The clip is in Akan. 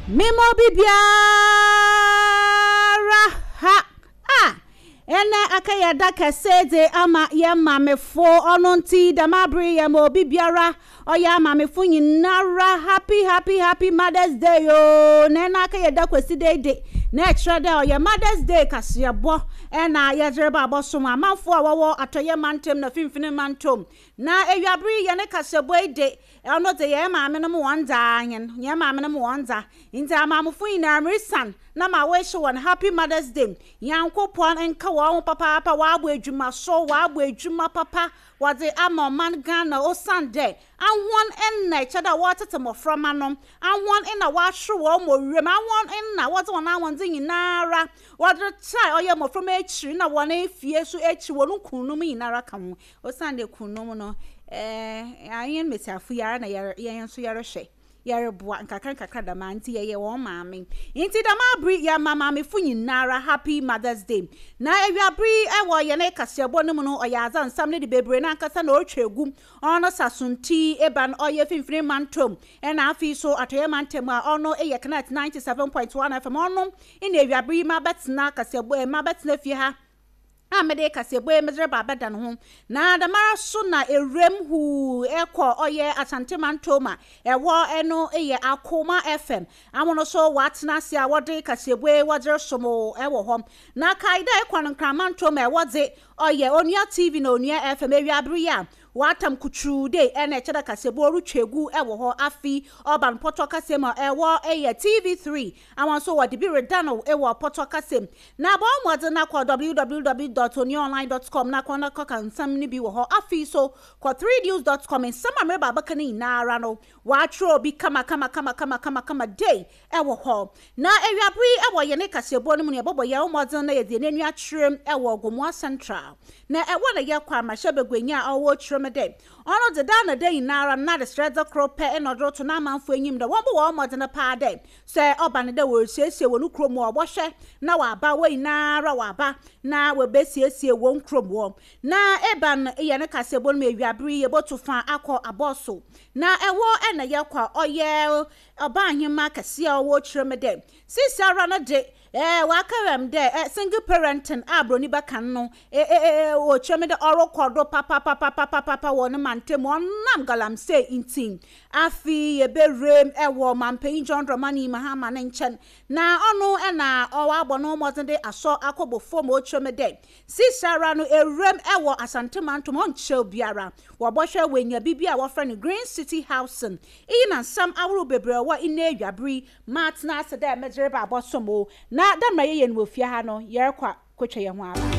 Mema obi biara ha a ɛnɛ aka yɛ da kɛse dze ama yɛn maamefo ɔno nti dɛm aber yi yɛma obi biara ɔyɛ amaamefo nyinara happy happy happy mother's day oo na ɛnɛ aka yɛ da kwesida yi de na ɛkyerɛ dɛ ɔyɛ mother's day kaseɛbɔ ɛna yɛdze reba abɔsom amanfo a wɔwɔ atɔyɛ mantam na finfini mantam na ewiaber yi yɛne kaseɛbɔ yi de Ɔno dze, hɛn maamenom hɔn dza ara hɛn, hɛn maamenom hɔn dza. Ntsi amaamofo nyina mirisan na ma wish hɔn happy mother's day. Nyankopɔn nka hɔn ho papaapa, wɔabɔ edwuma so, wɔabɔ edwuma papa wɔdze ama ɔman Ghana osiandɛ ahɔn na kyerɛ dɛ wɔretsetse mboframba no, ahɔn na wɔahwer hɔn wɔ wimu, ahɔn na wɔdze hɔn ahoɔdzen nyinara wɔdze retaa ɔyɛ mboframba ekyir na hɔn fie so ekyir, hɔn kunnom nyinara ka ho. Osiandɛ kunnom no, eh, hɛn mbasiafo yi ara na yɛn so yɛrohwɛ, yɛroboa nkakrankakra dɛm ara ntsi yɛyɛ hɔn maame. Ntsi dɛm aber yi yɛma maamefo nyinara Happy Mother's Day. Na ewiaber yi wɔ hɛn kaseɛbɔ no mu no, ɔyɛ adze a nsɛm no de beberee nankasa na orutwa egu. Ɔno Sasonti Eban ɔyɛ Finfini Mantam na afei so Atɔeɛ Mantam a ɔno yɛ Connect 97.1 FM ɔno na ewiaber yi mabɛtsena kaseɛbɔ mabɛtsena fie ha a mede kaseɛbɔ yi medze reba abɛda no ho, na dɛmara so na ewuram huu kɔ ɔyɛ Asante Mantom a ɛhɔ no yɛ Akoma FM amono so wɔatsena ase a wɔde kaseɛbɔ yi wɔdze resom wɔ hɔ. Na kae dɛ ekɔ no Nkran Mantom a ɛhɔ dze ɔyɛ Onua TV na Onua FM ewiaber yi a wɔatam kutuu dei na ɛkyɛ dɛ kaseɛbɔ rutwa egu wɔ hɔ afe ɔba no pɔtɔ kasa mu a ɛhɔ yɛ TV3 Awa nso wɔde bi reda no wɔ pɔtɔ kasa mu. Na bɔ mmɔden na kɔ www dot onuaonline dot com na kɔ na kɔka nsɛm no bi wɔ hɔ. Afei nso, kɔ threenews dot com, nsɛm a mereba abɛka no nyinaa ara no, wɔatwerɛ bi kama kama kama kama kama kama dei wɔ hɔ. Na awiabere yi wɔ yɛne kaseɛbɔ no mu no, yɛbɔbɔ yɛn ho mmɔden na yɛde yɛn ani akyerɛ wɔ Gomoa Central. Na ɛhɔ na yɛkɔ a mmarahyɛbaguanyi a ɔwɔ kyerɛ mu dɛ ɔno dze daa na da nyinaa ara no n'adesrɛdze kor pɛ na ɔdze roto n'amanfo enyim dɛ wɔmbɔ hɔn mbɔdzen paa dɛ Sɛ ɔba no dɛ worisiesie hɔn kurow mu a, wɔbɔhwɛ na wɔaba, hɔn nyinara wɔaba na woebesiesie hɔn kurow mu hɔ. Na ebɛn yɛ ne kaseɛbɔ no mu ewiaber yi yebotu fa akɔ abɔso. Na hɔ na yɛkɔ a, ɔyɛ ɔbaahenmba kɛse a ɔwɔ kyerɛ mu dɛ, seseiara no de, wɔaka m dɛ single parenting a Borɔnyi bɛka no, ɔkyerɛ me dɛ ɔrokɔ do papapapapapa wɔ ne mantamu, ɔnam galamsey ntsi. Afei yɛbɛwuram wɔ Mampanyin John Dramani Mahama ne nkyɛn, na ɔno na ɔabɔ no mbɔdzen de asɔ akɔbɔ famu, ɔkyerɛ me dɛ seseiara no ewuram wɔ Asante Mantam ɔnnkyɛr biara wɔbɔhwɛ woenya biribi a wɔfrɛ no Green City Housing. Iyi na nsɛm ahorow beberee a ɔwɔ ndɛ ewiaber yi matsena ase dɛ medze reba abɔsom wo, na dɛ mbrɛ yɛyɛ no wɔ fie ha no yɛrokɔ a. Kotwa yɛn ho aba.